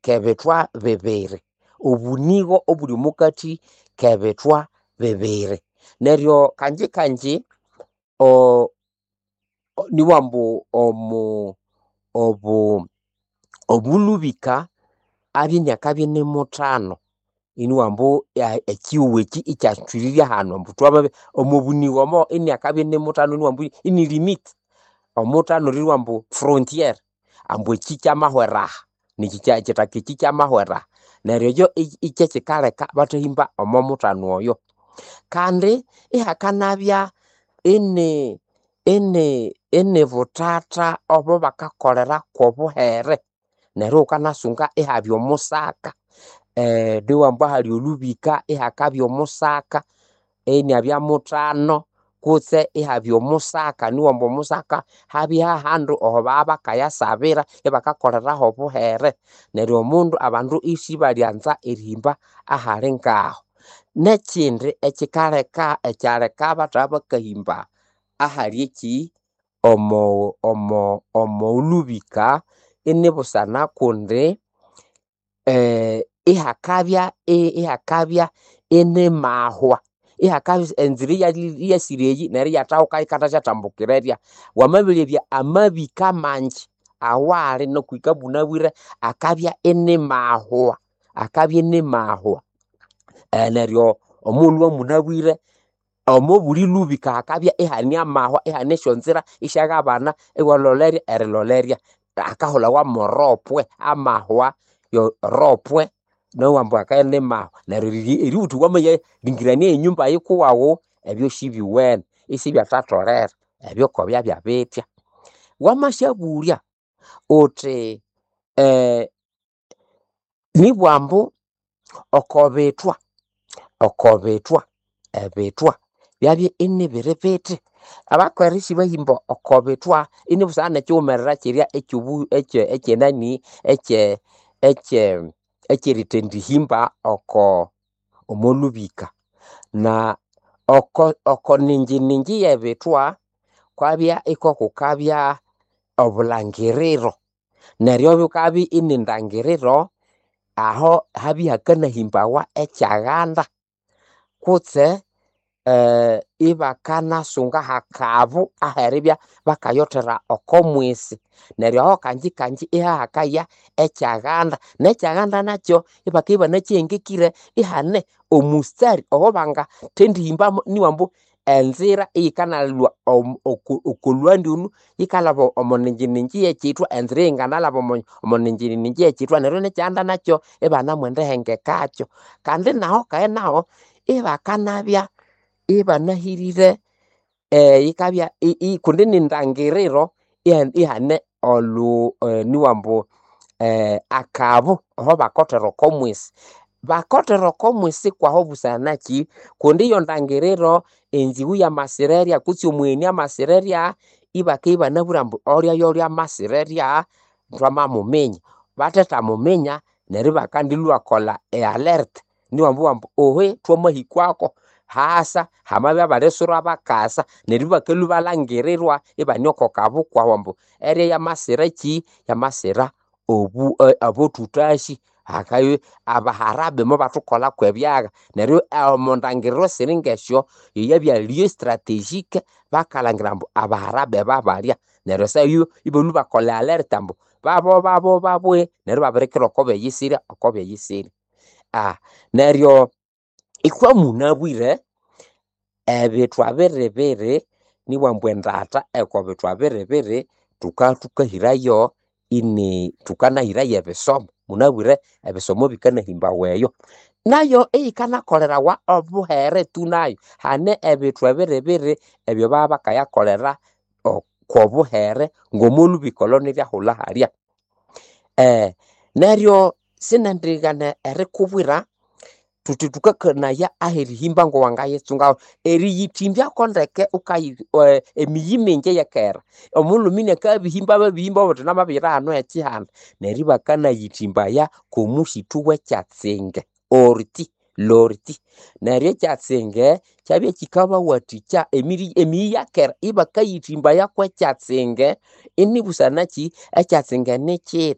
kebithwa bibiri, obunĩgo obuli omukathi kebithwa bibiri. Neryo kangyi kangyi nibughambu omulubika abye iniakabya inimuthano, inibughambu ekyihugho ekyi ikyathwirira hanu ambu thwamabya omobunĩgo omo iniakabya inimuthano inibughambu ini limit, omuthano eribugha ambu frontiere, ambu ekyi kyamahwera aha nekyi ekyithaka ekyi kyamahwera aha. Neryo ekyo kyekyikaleka bathahimba omo muthano oyo. Kandi ihakanabya ini inibuthatha obubakakolera kobuhere, neryo iwukanasunga ihabya omusaka, nibughambu ahali olhubika ihakabya omusaka, iniabya muthano kutse ihabya omusaka, nibughambu omusaka habye hahandu aho babakayasabira ibakakoleraho obuhere. Neryo omundu abandu isibalyanza erihimba ahali ngaho. Nekyindi ekyikaleka ekyaleka bathabakahimba ahali ekyi omo omolhubika inibusana kundi ihakabya ihakabya inimahwa, ihakabya enzira iyasire eyi neryo iyathahukayo kandi asyathambukira erya. Wamabilebya amabika mangi awali nokuhika munabwire akabya inimahwa, akabya inimahwa. Neryo omughulhu wamunabwire omobuli lubika hakabya ihane amahwa, ihane esyonzira isyaghabana iwalholerya erilholerya. Hakahulawa mo ropwe, amahwa ropwe neribugha ambu hakabya inimahwa. Neryo eribugha wuthi wamayalingirania enyumba yikuwawu, ebyo sibyuwene, isibyatatholere, ebyo kobyabya bitya. Wamasyabulya wuthi nibugha ambu okobithwa, okobithwa, ebithwa byabya inibiri bithi. Abakera isibahimba okobithwa inibusana nekyighumerera kyirya ekyobu ekyenani ekye ekye ekyerithendihimba oko omolhubika. Na oko okoninjininji yebithwa kwabya ikokukabya obulhangiriro. Neryo bukabya inindangiriro, aho habya ihakanahimbawa ekyaghanda kutse ibakanasunga hakabu aheribya bakayothera oko mwisi. Neryo aho kangyi kangyi ihahakaya ekyaghanda, nekyaghanda nakyo ibakabya ibanakyihengekire ihane omustari owabangathendihimbamu nibughambu ambu enzira eyikanalwa okolhughanda olhu yikalhaba omoninjininji yekyithwa enzira eyinganalhaba omoninjininji yekyithwa neryo nekyaghanda nakyo ibanemwendihengekakyo. Kandi naho keghe naho ibakanabya ibanahirire yikabya kundi nindangiriro ihane olhu nibugha ambu akabu ahobakothera okomwisi. Bakothera okomwisi kwaho busana nakyi? Kundi eyondangiriro enzighu yamasira erya kutse omugheni amasira erya, ibakabya ibanabwire ambu olya yolya amasira erya, thwamamuminya. Bathethamuminya, neryo ibakandilhwa ibakolha e alert nibabugha ambu ohe thwamahikwako, hasa hamabya abalisura bakasa. Neryo ibakalhwa ibalhangirirwa ibane oko kabu kwahu ambu erya yamasira kyi, yamasira obu abothuthasi. Hakabya abaharabe mobathukolha kwebyagha. Neryo omondangiriro esiri ngesyo, yeyabya lieu strategique, bakalhangira ambu abaharabe babalya. Neryo esaha eyo ibalhwa ibakolha e alert ambu babo babo baboe neryo ibabirikira okobeyisirya okobeyisirya. Neryo ithwamunabwire ebithwa biribiri nibughambu ambu endatha eyokobithwa biribiri thukathukahirayo ini thukanahirayo ebisomo. Munabwire ebisomo bikanahimbawa eyo. Nayo eyikanakolerawa obuhere tu nayo. Hane ebithwa biribiri ebyo babakayakolera kwobuhere ngomolhubika olho niryahulha halya. Neryo sinendighana erikubwira thuthi thukakanaya aherihimba ngowangayitsungahu. Eriyithimbako ndeke wukayi emiyi mingi eyekera, omulhume iniakabihimba ababihimba obundi namabiyira hanu hekyihanda. Neryo ibakanayithimbaya kwomusithu wekyatsinge orti. L'ortie. Neryo ekyatsinge kyabya kikabawathikya emiyi ya kera ibakayithimbaya kwekyatsenge inibusana kyi ekyatsinge nikyithi.